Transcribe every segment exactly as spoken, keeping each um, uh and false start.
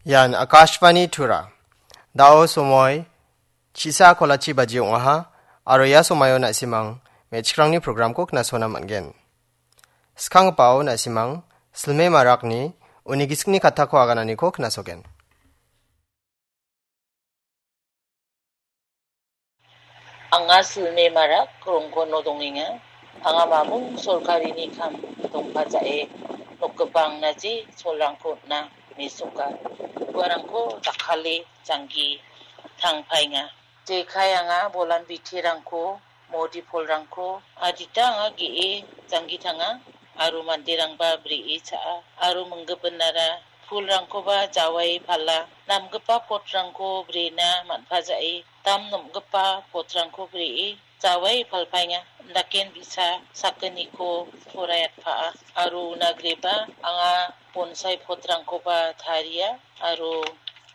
Ian Akashvani Tura. Dao somoi chisa kolachi baji ong·aha, aro ia somaio na·simang me·chikrangni programko knasona man·gen. Skanggipao na·simang Silme Marakni uni gisikni kattako agananiko knasogen. Anga Silme Marak rongkono dongenga. Anga mamung sorkarini kam dongpajae nokgipa angnaji cholrangko on·a mesoka. Uarangko dakkale janggi tangpaenga. Jekai anga bolan bitirangko, modi polrangko, adita anga ge·e janggi tanga, aro manderangba bree cha·a, aro minggipinara pulrangkoba jawae pala, namgipa potrangko brena man·pajae, dam nomgipa potrangko bree jawae palpaenga. Daken bi·sa sakgniko poraiatpaa, aro una grieba anga bonsai potrangkoba taria, aro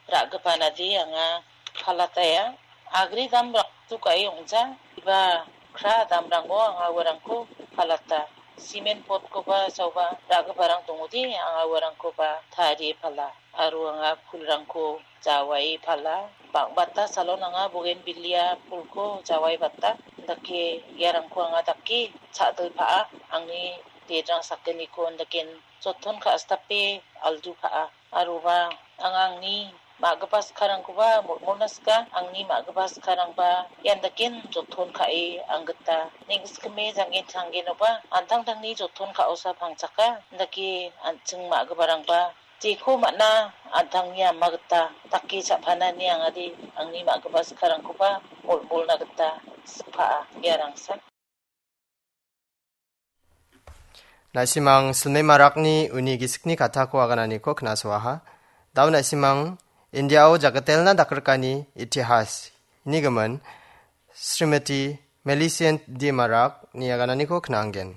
ra·gipanade anga palataia. Agri dam raktu ka·e ong·ja, iba kra damrango anga uarangko palata. Simen potkoba saoba ra·giparang dongode, anga uarangkoba tarie pala. Aro anga pulrangko jawae pala. Bang·bata salon anga bogenbilia pulko jawae bata. Dake iarangko anga dake cha·dilpaa. Angni dedrang sakgniko daken joton ka·stape aldukaa. Aroba anga angni ma·gipa skarangkoba molmolna sika, angni ma·gipa skarangba ian daken joton ka·e anggita. Neng·sikime janggen tanggenoba an·tangtangni joton ka·osa pangchaka, dake an·ching ma·giparangba jeko man·a an·tangni ama gita dake cha·panani angade angni ma·gipa skarangkoba molmolna gita sikpaa. Iarangsa. Na·simang Silme Marakni uni gisikni kattako agananiko knasoaha. Dao na·simang Indiao jakatelna dakrikani itihas inigimin Srimati Millicent D Marakni agananiko knaangen.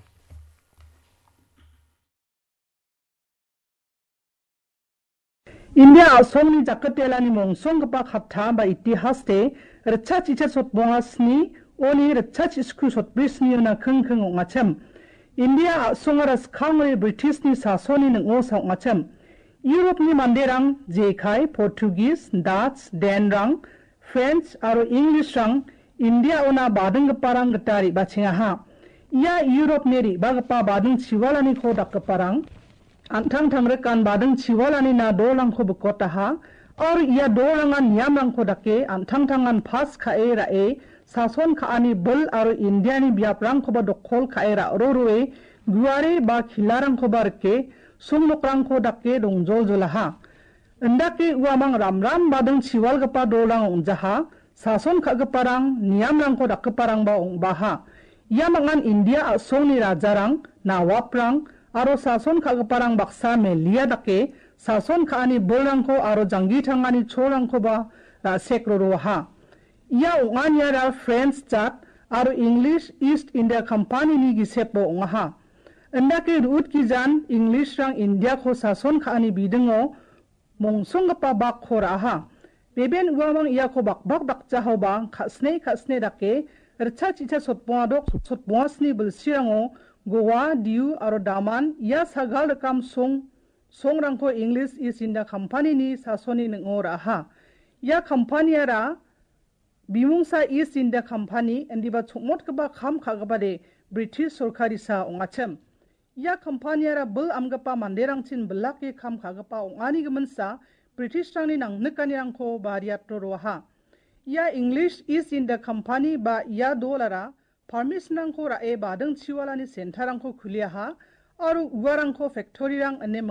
India a·songni jakatelani mongsonggipa katta ba itihaste ritchachichet sotbonga sni, oni ritchachich sku sotbri sniona kingking ong·achim. India a·songara skangri Britishni sasoni ning·osa ong·achim. Europni manderang jekai, Portuguese, Dutch, Denrang, French aro Englishrang Indiaona badinggiparang gita re·bachengaha. Ia Europni re·bagipa bading chiwalaniko dakgiparang an·tang tangrikan bading chiwalanina dolrangko bikotaha, aro ia dolrangan niamrangko dake an·tangtangan pas ka·e ra·e sason ka·ani bil aro Indiani biaprangkoba dokol ka·e ra·roroe guare ba kilarangkoba rike songnokrangko dake dongjoljolaha. Indake uamang ramram bading chiwalgipa dolrang ong·jaha, sason ka·giparang, niamrangko dakgiparangba ong·baha. Ia mangan India a·songni rajarang, nawaprang, aro sason ka·giparang baksa melia dake sason ka·ani bilrangko aro janggi tangani cholrangkoba ra·sek roroaha. Ia ong·aniara French jat aro English East India Company-ni gisepo ong·aha. Indake ru·utgijan Englishrang Indiako sason ka·ani bidingo mongsonggipa bakko ra·aha. Beben uamang iako bakbak dakjahaoba ka·sne ka·sne dake ritchachich sotbonga dok sotbonga sni bilsirango Goa, Diu aro Daman ia sagal rikam song songrangko English East India Company-ni sasoni ning·o ra·aha. Ia company-ara bimungsa East India Company indiba chongmotgipa kam ka·gipade British sorkarisa ong·achim. Ia company-ara bil amgipa manderangchin bilake kam ka·gipa ong·ani giminsa Britishrangni nangnikanirangko bariato roaha. Ia English East India Company ba ia dolara permission-rangko ra·e bading chiwalani center-rangko kuliaha aro uarangko factory-rang ine